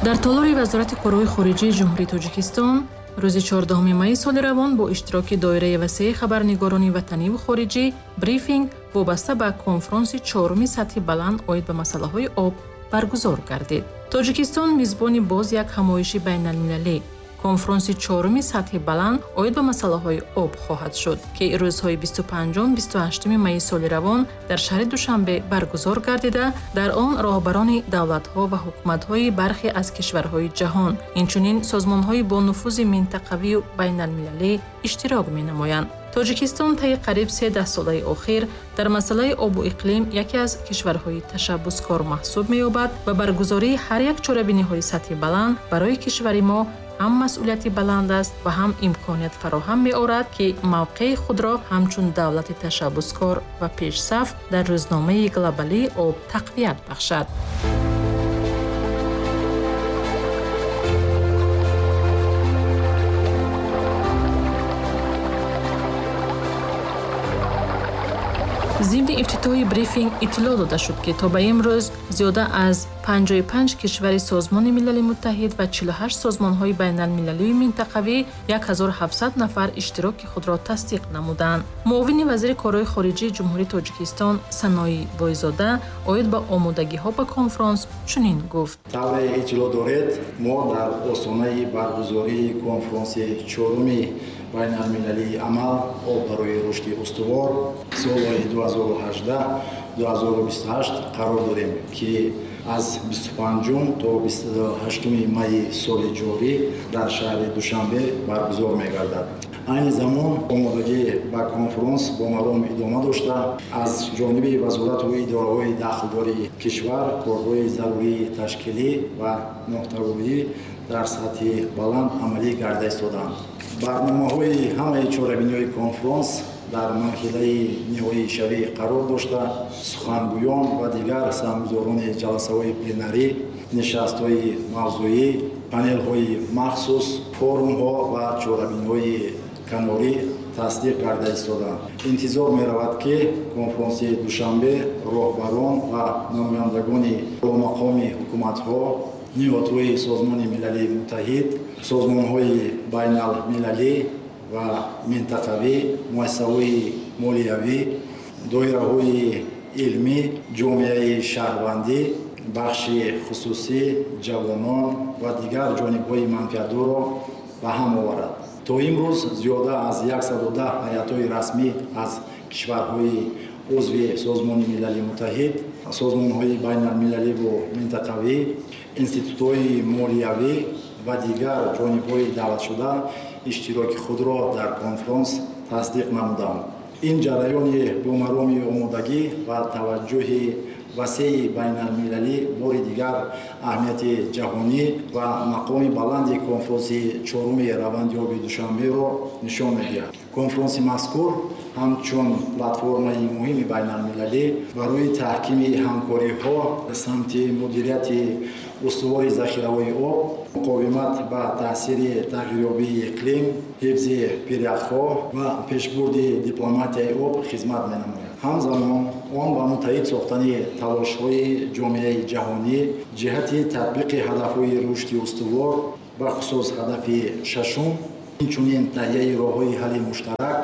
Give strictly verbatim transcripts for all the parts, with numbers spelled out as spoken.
Дар толори Вазорати корҳои хориҷии Ҷумҳурии Тоҷикистон рӯзи чордаҳуми майи соли равон бо иштироки доираи васеи хабарнигорони ватаниву хориҷӣ брифинг вобаста ба конфронси чоруми сатҳи баланд оид ба масъалаҳои об баргузор гардид. Тоҷикистон мизбони боз як ҳамоиши байналмилалӣ, конфронси чоруми сатҳи баланд оид ба масъалаҳои об хоҳад шуд, ки рӯзҳои бисту панҷум бисту ҳаштуми майи соли равон дар шаҳри Душанбе баргузор гардида, дар он роҳбарони давлатҳо ва ҳукуматҳои бархе аз кишварҳои ҷаҳон, инчунин созмонҳои бонуфузи минтақавию байналмилалӣ иштирок менамоянд. Тоҷикистон таи қариб се даҳсолаи охир дар масъалаи обу иқлим яке аз кишварҳои ташаббускор маҳсуб меёбад ва баргузории ҳар як чорабиниҳои сатҳи баланд барои кишвари мо ҳам масъулияти баланд аст ва ҳам имконият фароҳам меорад, ки мавқеи худро ҳамчун давлати ташаббускор ва пешсаф дар рӯзномаи глобалии об тақвият бахшад. Зимни ифтитоҳи брифинг иттилоъ дода шуд, ки то ба имрӯз зиёда аз панҷоҳу панҷ кишвари Созмони Милали Муттаҳид ва чилу ҳашт созмонҳои байналмилалию минтақавӣ як ҳазору ҳафтсад нафар иштироки худро тасдиқ намуданд. Муовини вазири корҳои хориҷии Ҷумҳурии Тоҷикистон Санои Бойзода оид ба омодагиҳо ба конфронс чунин гуфт. Тавре иттилоъ доред, мо дар остонаи баргузории конфронси чоруми байналмилалии амал об барои рушди устувор солҳои ду ҳазору ҳаждаҳ ду ҳазору бисту ҳашт қарор дорем, ки аз бисту панҷум то бисту ҳаштуми майи соли ҷорӣ дар шаҳри Душанбе баргузор мегардад. Айни замон омодагӣ ба конфронс бо маром идома дошта, аз ҷониби вазорату идораҳои дахлдори кишвар корҳои зарурии ташкилӣ ва муҳтавоӣ дар сатҳи баланд амалӣ гарда истодаанд. Барномаҳои ҳамаи чорабиниҳои конфронс дар марҳилаи ниҳоишавӣ қарор дошта, сухангӯён ва дигар саҳмгузорони ҷаласаҳои пленарӣ, нишастҳои мавзӯӣ, панелҳои махсус, форумҳо ва чорабиниҳои канорӣ тасдиқ карда истодаанд. Интизор меравад, ки конфронси Душанбе роҳбарон ва намояндагони боломақоми ҳукуматҳо, ниҳодҳои Созмони Милали Муттаҳид, созмонҳои байналмилалӣ ва минтақавӣ, муассисаҳои молиявӣ, доираҳои илмӣ, ҷомеаи шаҳрвандӣ, бахши хусусӣ, ҷавонон ва дигар ҷонибҳои манфиатдорро ба ҳам оварад. То имрӯз зиёда аз яксаду даҳ ҳайатҳои расмӣ аз кишварҳои узви Созмони Милали Муттаҳид, созмонҳои байналмилаливу минтақавӣ, институтҳои молиявӣ ва дигар ҷонибҳои даъватшуда иштироки худро дар конфронс тасдиқ намуданд. Ин ҷараёни бо мароми омодагӣ ва таваҷҷӯҳи васеи байналмилалӣ бори дигар аҳамияти ҷаҳонӣ ва мақоми баланди конфронси чоруми раванди оби Душанберо нишон медиҳад. Конфронси мазкур ҳамчун платформаи муҳими байналмилалӣ барои таҳкими ҳамкориҳо самти мудирияти устувори захираҳои об, муқовимат ба таъсири тағйирёбии иқлим, ҳифзи пиряхҳо ва пешбурди дипломатияи об хизмат менамояд. Ҳамзамон он ба муттаҳид сохтани талошҳои ҷомеаи ҷаҳонӣ ҷиҳати татбиқи ҳадафҳои рушди устувор, бахусус ҳадафи шашум, инчунин таҳияи роҳҳои ҳалли муштарак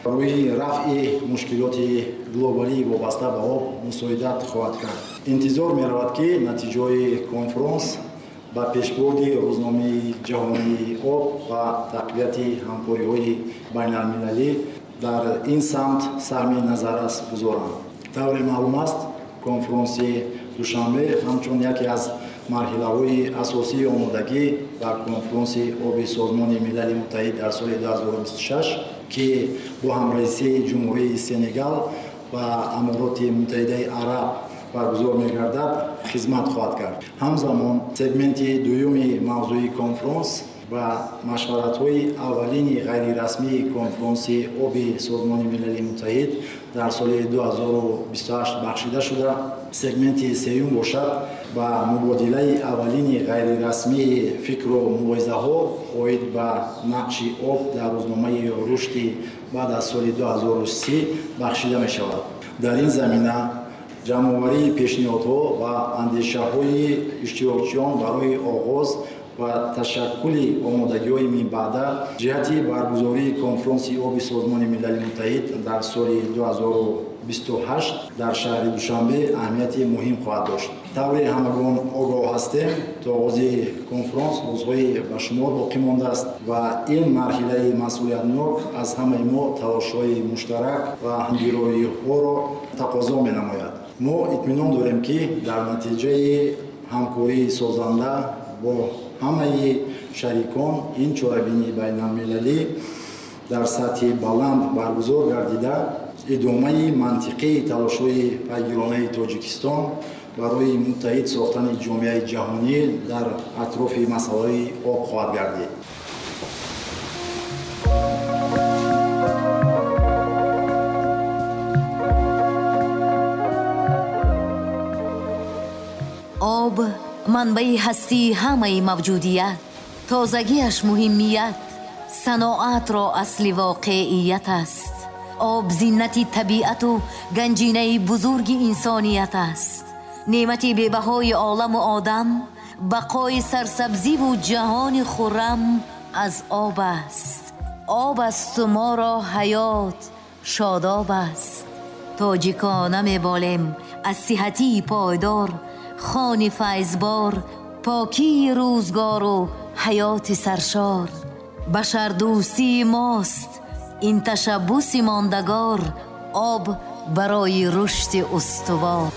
барои рафъи мушкилоти глобалӣ вобаста ба об мусоидат хоҳад кард. Интизор меравад, ки натиҷаҳои конфронс ба пешбурди рӯзномаи ҷаҳонии об ва тақвияти ҳамкориҳои байналмилалӣ дар ин самт саҳми назаррас гузоранд. Тавре маълум аст, конфронси Душанбе ҳамчун яке аз марҳилаҳои асосии омодагӣ ба конфронси оби Созмони Милали Муттаҳид дар соли ду ҳазору бисту шаш, ки бо ҳамраисии Ҷумҳурии Сенегал ва Амороти Муттаҳидаи Араб баргузор мегардад, хизмат хоҳад кард. Ҳамзамон сегменти дуюми мавзӯи конфронс ва машваратҳои аввалини ғайрирасмии конфронси оби Созмони Милали Муттаҳид дар соли ду ҳазору бисту ҳашт бахшида шуда, сегменти сеюм бошад ба мубодилаи аввалини ғайрирасмии фикру мулоҳизаҳо оид ба нақши об дар рӯзномаи рушди баъд аз соли ду ҳазору си бахшида мешавад. Дар ин замина Ҷамъоварии пешниҳодҳо ва андешаҳои иштирокчиён барои оғоз ва ташаккули омодагиҳои минбаъда ҷиҳати баргузории конфронси оби Созмони Милали Муттаҳид дар соли ду ҳазору бисту ҳашт дар шаҳри Душанбе аҳамияти муҳим хоҳад дошт. Тавре ҳамагон огоҳ ҳастем, то оғози конфронс рӯзҳои ба шумор боқӣ мондааст ва ин марҳилаи масъулиятнок аз ҳамаи мо талошҳои муштарак ва ҳамгироиҳоро тақозо менамояд. Мо итминон дорем, ки дар натиҷаи ҳамкории созанда бо ҳамаи шарикон ин чорабинии байналмилалӣ дар сатҳи баланд баргузор гардида, идомаи мантиқии талошҳои пайгиронаи Тоҷикистон барои муттаҳид сохтани ҷомеаи ҷаҳонӣ дар атрофи масъалаи об хоҳад гардид. Об манбаи ҳастии ҳамаи мавҷудият, тозагиаш муҳимият, саноатро асли воқеият аст. Об зинати табиату ганҷинаи бузурги инсоният аст. Неъмати бебаҳои оламу одам, бақои сарсабзиву ҷаҳони хуррам аз об аст. Об асту моро ҳаёт шодоб аст. Тоҷикона меболем аз сиҳатии пойдор, хони файзбор, покии рӯзгору ҳаёти саршор. Башардӯстии мост ин ташаббуси мондагор, об барои рушди устувор.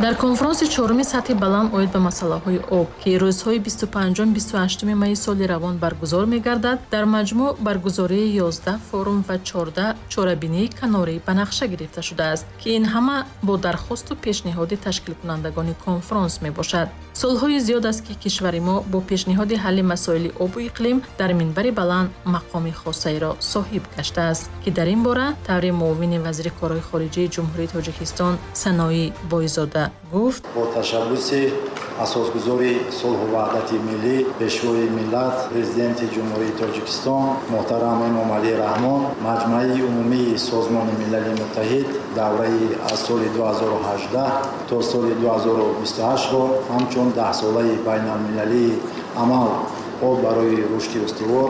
Дар конфронси чоруми сатҳи баланд оид ба масъалаҳои об, ки рӯзҳои бисту панҷум бисту ҳаштуми майи соли равон баргузор мегардад, дар маҷмӯъ баргузории ёздаҳ форум ва чордаҳ чорабинии канорӣ ба нақша гирифта шудааст, ки ин ҳама бо дархосту пешниҳоди ташкилкунандагони конфронс мебошад. Солҳои зиёд аст, ки кишвари мо бо пешниҳоди ҳалли масоили обу иқлим дар минбари баланд мақоми хосаеро соҳиб гаштааст, ки дар ин бора таври муовини вазири корҳои хориҷии Ҷумҳурии Тоҷикистон Саноӣ Бойзода гуфт: бо ташаббуси асосгузори сулҳу ваҳдати миллӣ, пешвои миллат, президенти Ҷумҳурии Тоҷикистон муҳтарам Эмомалӣ Раҳмон, Маҷмаи умумии Созмони Милали Муттаҳид давраи аз соли ду ҳазору ҳаждаҳ то соли ду ҳазору бисту ҳаштро ҳамчун даҳсолаи байналмилалии амал об барои рушди устувор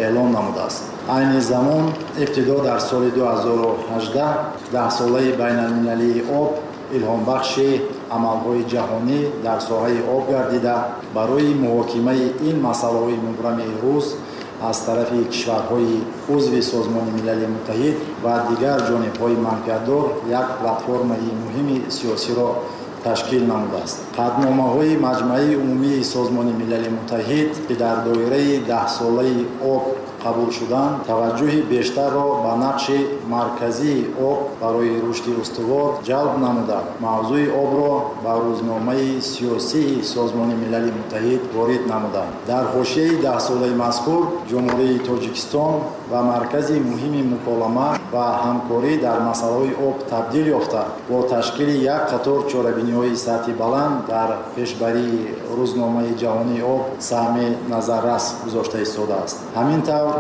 эълон намудааст. Айни замон ибтидо дар соли ду ҳазору ҳаждаҳ даҳсолаи байналмилалии об илҳомбахши амалҳои ҷаҳонӣ дар соҳаи об гардида, барои муҳокимаи ин масъалаҳои мубрами рӯз аз тарафи кишварҳои узви Созмони Милали Муттаҳид ва дигар ҷонибҳои манфиатдор як платформаи муҳими сиёсиро ташкил намудааст. Қатъномаҳои Маҷмаи умумии Созмони Милали Муттаҳид, ки дар доираи даҳсолаи об қабул шуданд, таваҷҷӯҳи бештарро ба нақши марказии об барои рушди устувор ҷалб намуда, мавзӯи обро ба рӯзномаи сиёсии Созмони Милали Муттаҳид ворид намуданд. Дар ҳошияи даҳсолаи мазкур Ҷумҳурии Тоҷикистон ба маркази муҳими муколама ва ҳамкорӣ дар масъалаҳои об табдил ёфта, бо ташкили як қатор чорабиниҳои сатҳи баланд дар пешбарии рӯзномаи ҷаҳонии об саҳми назаррас гузошта истодааст. Ҳамин тавр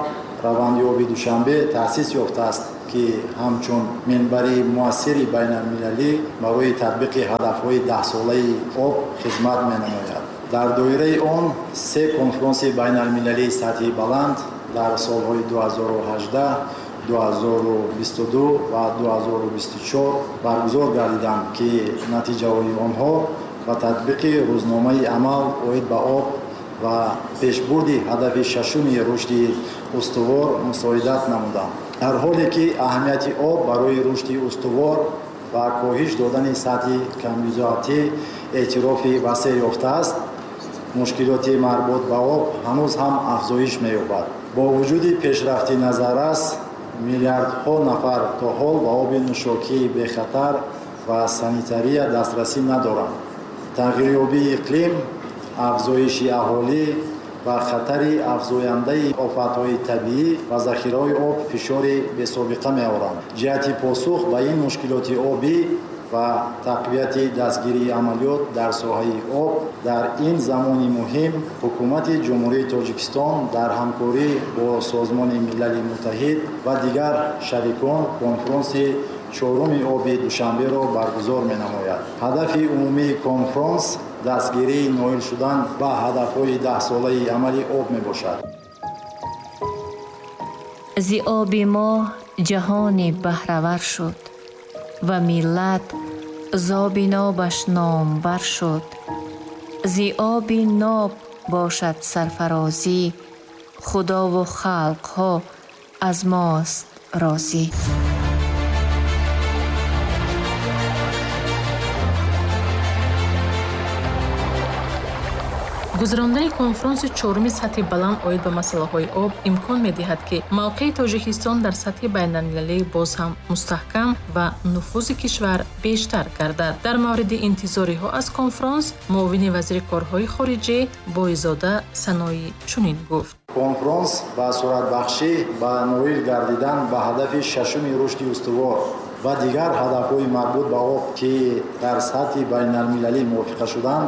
раванди оби Душанбе таъсис ёфтааст, ки ҳамчун минбари муассири байналмилалӣ барои татбиқи ҳадафҳои даҳсолаи об хизмат менамояд. Дар доираи он се конфронси байналмилалии сатҳи баланд дар солҳои ду ҳазору ҳаждаҳ, ду ҳазору бисту ду ва ду ҳазору бисту чор баргузор гардиданд, ки натиҷаҳои онҳо ба татбиқи рӯзномаи амал оид ба об ва пешбурди ҳадафи шашуми рушди устувор мусоидат намуданд. Дар ҳоле ки аҳамияти об барои рушди устувор ва коҳиш додани сатҳи камбизоатӣ эътирофи васеъ ёфтааст, мушкилоти марбут ба об ҳанӯз ҳам афзоиш меёбад. Бо вуҷуди пешрафти назаррас, миллиардҳо нафар то ҳол ба оби нӯшокии бехатар ва санитария дастрасӣ надоранд. Тағйирёбии иқлим, афзоиши аҳолӣ ва хатари афзояндаи офатҳои табиӣ ва захираҳои об фишори бесобиқа меоранд. Ҷиҳати посух ба ин мушкилоти обӣ ва тақвияти дастгирии амалиёт дар соҳаи об дар ин замони муҳим ҳукумати Ҷумҳурии Тоҷикистон дар ҳамкорӣ бо Созмони Милали Муттаҳид ва дигар шарикон конфронси чоруми оби Душанберо баргузор менамояд. Ҳадафи умумии конфронс дастгирии ноил шудан ба ҳадафҳои даҳсолаи амали об мебошад. Зи оби мо ҷаҳоне баҳравар шуд ва миллат зоби нобаш номбар шуд. Зи оби ноб бошад сарфарозӣ, худову халқҳо аз мост розӣ. Гузарондани конфронси чоруми сатҳи баланд оид ба масъалаҳои об имкон медиҳад, ки мавқеи Тоҷикистон дар сатҳи байналмилалӣ боз ҳам мустаҳкам ва нуфузи кишвар бештар гардад. Дар мавриди интизориҳо аз конфронс муовини вазири корҳои хориҷӣ Бойзода Саноӣ чунин гуфт. Конфронс ба суратбахшӣ ба ноил гардидан ба ҳадафи шашуми рушди устувор ва дигар ҳадафҳои марбут ба об, ки дар сатҳи байналмилалӣ мувофиқа шуданд,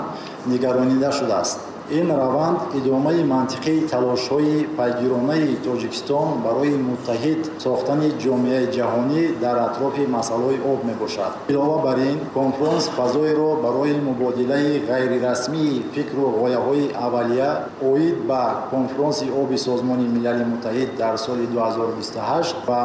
нигаронида шудааст. Ин раванд идомаи мантиқии талошҳои пайгиронаи Тоҷикистон барои муттаҳид сохтани ҷомеаи ҷаҳонӣ дар атрофи масъалаҳои об мебошад. Илова бар ин, конфронс фазоеро барои мубодилаи ғайрирасмии фикру ғояҳои аввалия оид ба конфронси оби Созмони Милали Муттаҳид дар соли ду ҳазору бисту ҳашт ва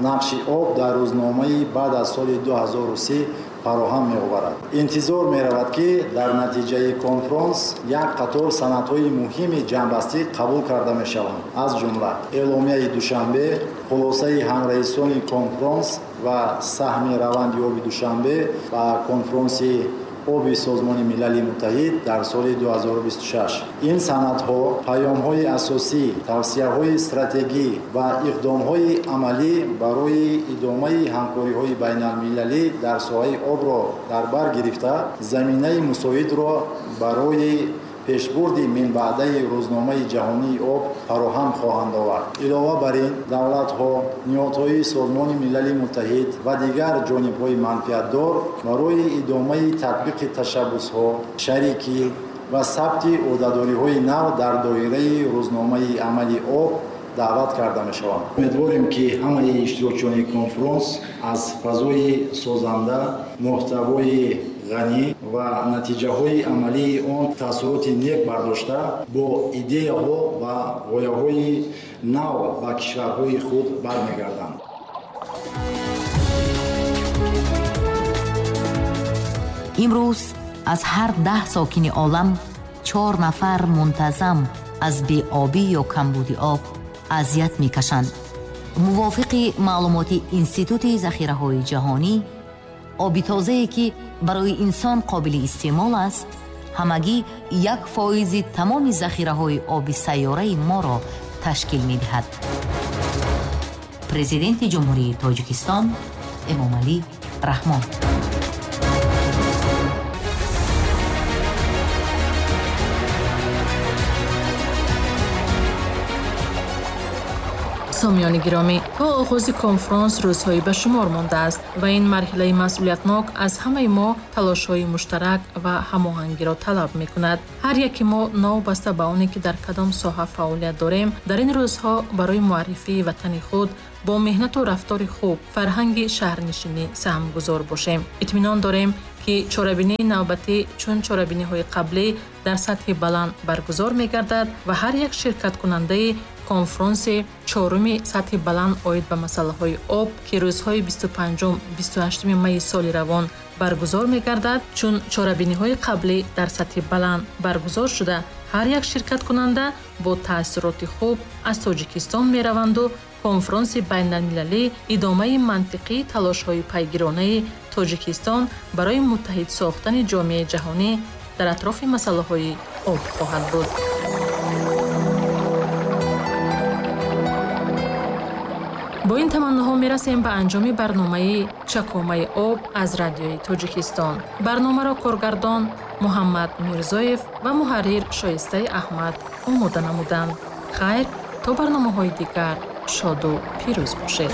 нақши об дар рӯзномаи баъд аз соли ду ҳазору си фароҳам меоварад. Интизор меравад, ки дар натиҷаи конфронс як қатор санадҳои муҳими ҷамъбастӣ қабул карда мешаванд, аз ҷумла эъломияи Душанбе, хулосаи ҳамраисони конфронс ва саҳми раванди оби Душанбе ба конфронси оби Созмони Милали Муттаҳид дар соли ду ҳазору бисту шаш. Ин санадҳо паёмҳои асосӣ, тавсияҳои стратегӣ ва иқдомҳои амалӣ барои идомаи ҳамкориҳои байналмилалӣ дар соҳаи обро дар бар гирифта, заминаи мусоидро барои пешбурди минбаъдаи рӯзномаи ҷаҳонии об фароҳам хоҳанд овард. Илова бар ин, давлатҳо, ниҳодҳои Созмони Милали Муттаҳид ва дигар ҷонибҳои манфиатдор барои идомаи татбиқи ташаббусҳо, шарикӣ ва сабти ӯҳдадориҳои нав дар доираи рӯзномаи амали об даъват карда мешаванд. Умедворем, ки ҳамаи иштирокчиёни конфронс аз фазои созанда, муҳтавои ғанӣ ва натиҷаҳои амалии он таассуроти нек бардошта, бо идеяҳо ва ғояҳои нав ба кишварҳои худ бармегарданд. Имрӯз аз ҳар даҳ сокини олам чор нафар мунтазам аз беобӣ ё камбуди об азият мекашанд. Мувофиқи маълумоти Институти захираҳои ҷаҳонӣ, оби тозае ки барои инсон қобили истеъмол аст, ҳамагӣ як фоизи тамоми захираҳои оби сайёраи моро ташкил медиҳад. Президенти Ҷумҳурии Тоҷикистон Эмомалӣ Раҳмон. Сомиёни гиромӣ, то оғози конфронс рӯзҳое ба шумор мондааст ва ин марҳилаи масъулиятнок аз ҳамаи мо талошҳои муштарак ва ҳамоҳангиро талаб мекунад. Ҳар яке мо новобаста ба оне ки дар кадом соҳа фаъолият дорем, дар ин рӯзҳо барои муаррифии ватани худ бо меҳнату рафтори хуб, фарҳанги шаҳрнишинӣ саҳмгузор бошем. Итминон дорем, ки чорабинии навбатӣ чун чорабиниҳои қаблӣ дар сатҳи баланд баргузор мегардад ва ҳар як ширкаткунандаи конфронси чоруми сатҳи баланд оид ба масъалаҳои об, ки рӯзҳои бисту панҷум бисту ҳаштуми майи соли равон баргузор мегардад, чун чорабиниҳои қаблӣ дар сатҳи баланд баргузор шуда, ҳар як ширкаткунанда бо таассуроти хуб аз Тоҷикистон мераванду конфронси байналмилалӣ идомаи мантиқии талошҳои пайгиронаи Тоҷикистон барои муттаҳид сохтани ҷомеаи ҷаҳонӣ дар атрофи масъалаҳои об хоҳад буд. Бо ин таманноҳо мерасем ба анҷоми барномаи Чакомаи об аз радиои Тоҷикистон. Барномаро коргардон Муҳаммад Мирзоев ва муҳаррир Шоистаи Аҳмад омода намуданд. Хайр, то барномаҳои дигар шоду пирӯз бошед.